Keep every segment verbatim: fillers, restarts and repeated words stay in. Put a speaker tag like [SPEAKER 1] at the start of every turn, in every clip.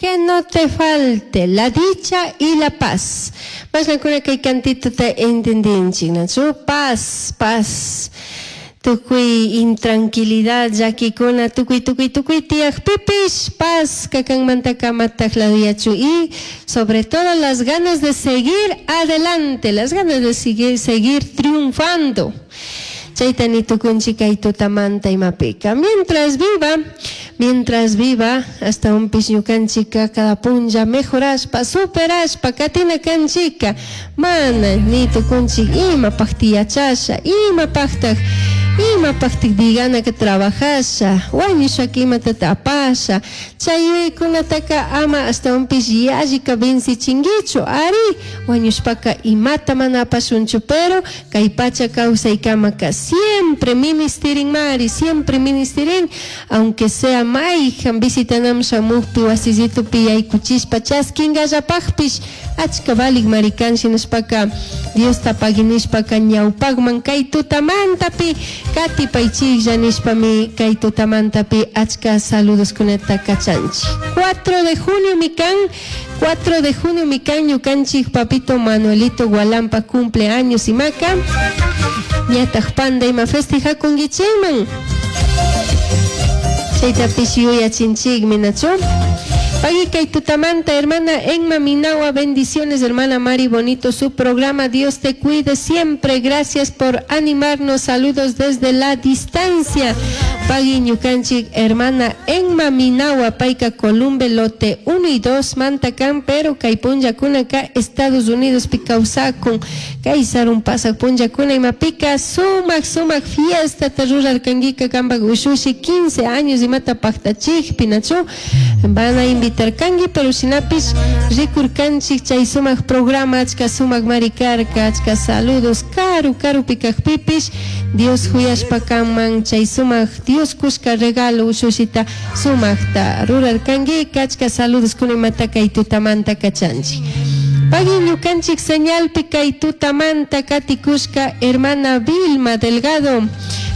[SPEAKER 1] Que no te falte la dicha y la paz. Mashnakuna kay cantituta entendinchik, nachu? Paz, paz. Tukuy intranquilidad llakikuna tukuy tukuy tukuy tiyakpipish paz kakanmanta amataj laduyachu y sobre todo las ganas de seguir adelante, las ganas de seguir, seguir triunfando. Chayta nitukunchik kay tutamanta imapika. Mientras viva, mientras viva, hasta un ñukanchika cada punlla mejorashpa, superashpa, katina kanchika, mana nitukunchik imapakti yachasha, imapaktak, imapaktik digana que trabajasha, wañushaka imatata apasha, chay yuyaykunataka ama ashtawanpish yallika vencichinkichu, ari wañushpaka imata mana apashunchu, pero kay pacha kawsaykamaka siempre ministirin mari, siempre ministirin, aunque sea mayjan visitanaman shamukpi wasillitupi yaykuchishpa chaskinallapakpish achka valik mari kan shinashpaka Diosta pagui nishpaka ñawpakman kay tutamantapi katipaychiklla nishpami kay tutamantapi achka saludoskunata kachanchik. cuatro de junio mikan, cuatro de junio mikan ñukanchik papito Manuelito Gualampa cumpleaños imaka ñataj panda ima festejakunkichikman chaytapish yuyachinchikmi, nachu? Pagui kay tutamanta, hermana Emma Minawa, bendiciones, hermana Mari, bonito su programa, Dios te cuide siempre, gracias por animarnos, saludos desde la distancia. Pagui ñukanchik, hermana Emma Minawa, payka Columbe, lote uno y dos, manta kan, pero kay punllakunaka, Estados Unidos, pi kawsakun, kay sarun pasak punllakuna imapika, sumak, sumak fiesta, rurarkankika, kampak ushushi, quince años, imata paktachikpi, nachu, van a invitar kanki, pero shinapish rikurkanchik chay sumak programa, achka sumak marikarka, achka saludos, karu, karupi kakpipish, Dios huyashpa kanman chay sumak Dios kushka regalo ushushita sumakta rurarkanki, achka saludos kunimata kay tutamanta kachanchik. Pagui ñukanchik señalpi kay tutamanta katikushka hermana Vilma Delgado.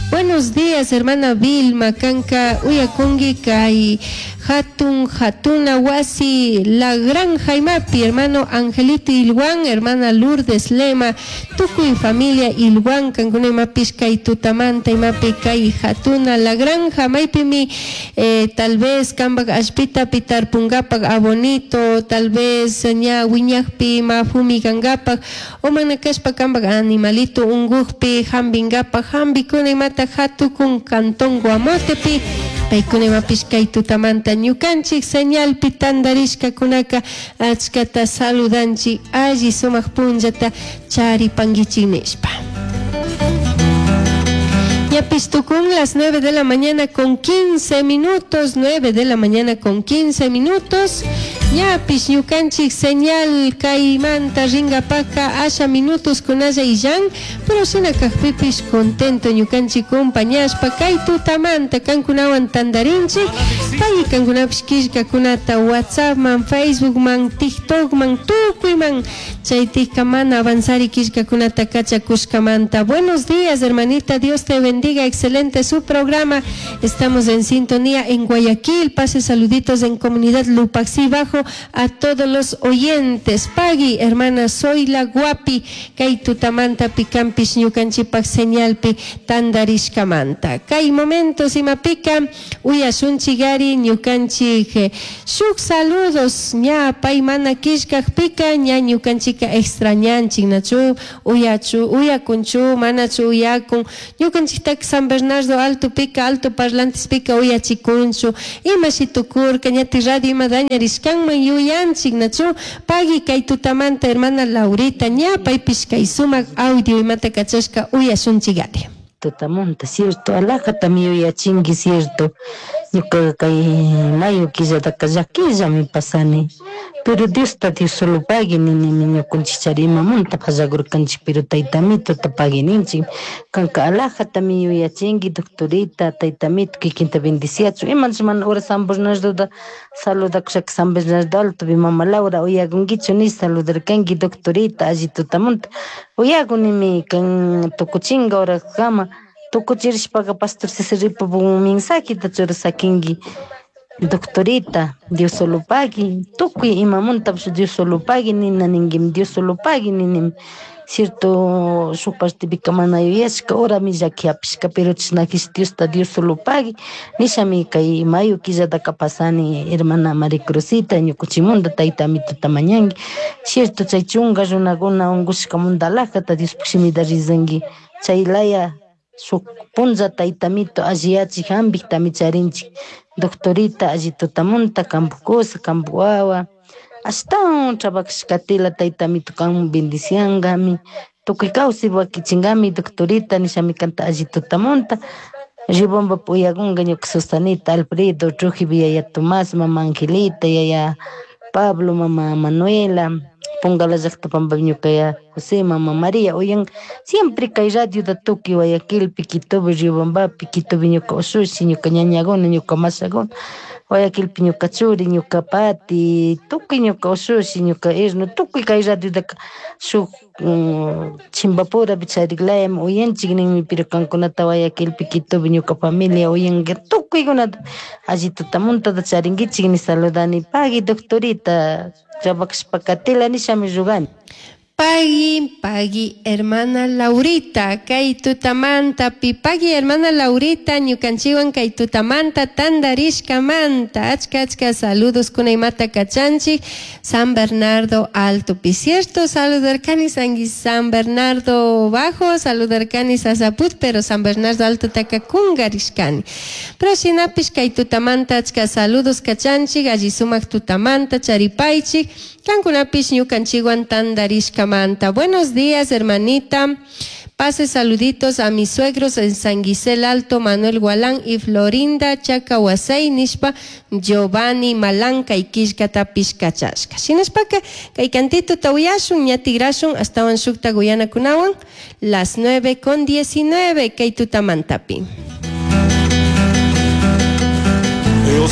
[SPEAKER 1] Buenos días, hermana Vilma, kanka uyakungi kay hatun hatuna wasi La Granja imapi, hermano Angelito Ilguán, hermana Lourdes Lema, tukuy familia Ilguán, kankuna imapish kay tutamanta imapi kay hatuna La Granja, maypimi eh, tal vez kambak allpitapi tarpungapak abonito, tal vez ña wiñakpi ma fumigangapak, o mana kashpa kambak animalito ungukpi hambingapak, hambikuna imata hatukun cantón Guamotepi, paykuna imapish kay tutamanta ñukanchik señalpi tandarishkakunaka achkata saludanchik alli sumak punllata charipankichik nishpa. Ñapish tukun las nueve de la mañana con quince minutos, nueve de la mañana con quince minutos. Ñapish ñukanchik señal kaymanta ringapaka asha minutos kunalla illan, pero shina kakpipish contento ñukanchik compañashpa kay tutamanta kankunawan tandarinchik, pay kankunapish killkakunata WhatsAppman, Facebookman, TikTokman, tukuyman chaytika mana avanzari killkakunata kachakushkamanta. Buenos días, hermanita, Dios te bendiga, excelente su programa. Estamos en sintonía en Guayaquil, pase saluditos en comunidad Lupaxi Bajo a todos los oyentes. Pagui, hermana, soy la guapi, kay tutamanta pikampish ñukanchipak señalpi tandarishkamanta. Kay momentos imapika uyashunchigari ñukanchik shuk saludos ña pay mana killkakpika ña ñukanchika extrañanchik nachu uyachu uyakunchu manachu uyakun ñukanchiktak San Bernardo Alto pika alto parlantes pika uyachikunchu ima shitukurka ñati radio ima dañarishkanman yuyanchik nachu pagui kay tutamanta hermana Laurita ña paypish kay sumak audio imata kachashka uyashunchigari.
[SPEAKER 2] Tutamunta, cierto, alajatami yuyachinki, cierto, ñuka kay mayo killataka llakillami pasani, pero Diosta Dios solo pagui ninimi ñukanchik chari imamunta pallakurkanchik, pero taytamitota pagui ninchik, kanka alajatami yuyachinki, doctorita, taytamito kikinta bendiciachun, imanchik mana hora San Bernardota saludakushaka San Bernardo Altopi mama Laura uyakunkichu nish saludarkanki doctorita alli tutamunta, uyakunimi kan tukuchinka horakama tukuchirishpaka pastor Cesar Ripo mensajeta churasakinki Doctorita, Dios solo pagui, tukuy imamuntapish Dios solo pagui nina ninguimi, Dios solo pagui ninimi. Cierto, shuk partipika mana yuyashka horami llaki hapishka, pero chashnakish Diosta Dios solo pagui nishami kay mayo killataka pasani hermana María Cruzita ñukuchimunda tayta amituta mañanki. Cierto, chay chunka runakuna unkushkamunda alajata Diospuk shimita rizanki, chay laya shuk punlla tayta amito alliyachik hampiktami charinchik. Doctorita alli tutamunta kanpuk kusa, kanpuk wawa, ashtawan trabajashkatila tayta amito kan bendiciangami, tukuy kawsay wakichinkami doctorita nishami kanta alli tutamunta. Riobamba uyakunka ñuka Susanita, Alfredo, Trujillo, yaya Tomás, mama Angelita, yaya Pablo, mama Manuela, Pongala llakta pampa ñuka yaya José, mama María, uyan siempre kay radiota tukuy Guayaquilpi, Quitopi, Riobambapi, Quitopi ñuka ushushi, ñuka ñañakuna, ñuka mashakuna, Guayaquilpi ñuka churi, ñuka pati, tukuy ñuka ushushi, ñuka yerno, tukuy kay radiotaka shuk chimbapurapi charik layami uyanchik ninmi, pero kankunata Guayaquilpi, Quitopi ñuka familia uyanka tukuykunata alli tutamuntata charinkichik ni saludani. Pagui doctorita, trabajashpa katila nishami rugani.
[SPEAKER 1] Pagui, pagui, hermana Laurita, kay tutamanta, pi pagui, hermana Laurita, ñukanchiwan kay tutamanta, tandarishkamanta, achka, achka saludos kunaymata kachanchik, San Bernardo Alto, pi cierto, saludarkani San Bernardo Bajo, saludarkani Sasaput, pero San Bernardo Alto taka kungarishkani. Pero shinapish kay tutamanta, achka saludos kachanchik, alli sumak tutamanta, charipaychik, kankunapish ñukanchiwan tandarishkamanta. Buenos días, hermanita. Pase saluditos a mis suegros en San Gisel Alto, Manuel Gualán y Florinda Chacahuasay, nishpa Giovanni Malanca y Kishkata Pishkachashka. Shinashpaka, kay cantito tawiyashun, ñatigrashun, astawan shukta guyana kunawan, las nueve con diecinueve, kay tutamantapi.
[SPEAKER 3] Dios